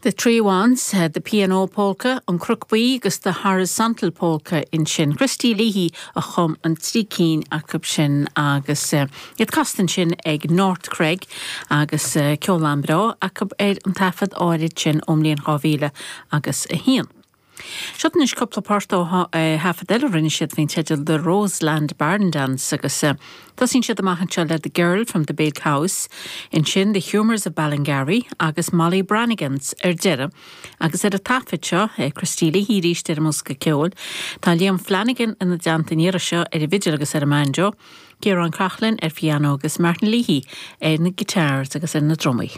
The Wands, The Piano Polka, An Cnoc Buí agus The Horizontal Polka ansin. Christy Leahy a chum an trí cinn acu sin agus iad casta ansin ag North Cregg agus ceol an-bhreá acu ar an taifead áirid sin ón mbliain 2000 agus 1. Seo anois cúpla port ó thaifead eile a rinne siad faoin teideal The Roseland Barn Dance agus tosaíonn siad amach anseo le The Girl from the Big House, ansin The Humours of Ballingarry agus Molly Brannigan's ar deireadh agus ar an taifead seo, Christy Leahy arís ar an mbosca ceoil, tá Liam Flanagan ina dteannta an iarraidh seo ar an bhfidil agus ar an mbanjo, Ciarán Coughlan ar phiano agus Martin Leahy ar na guitars agus ar na drumaí.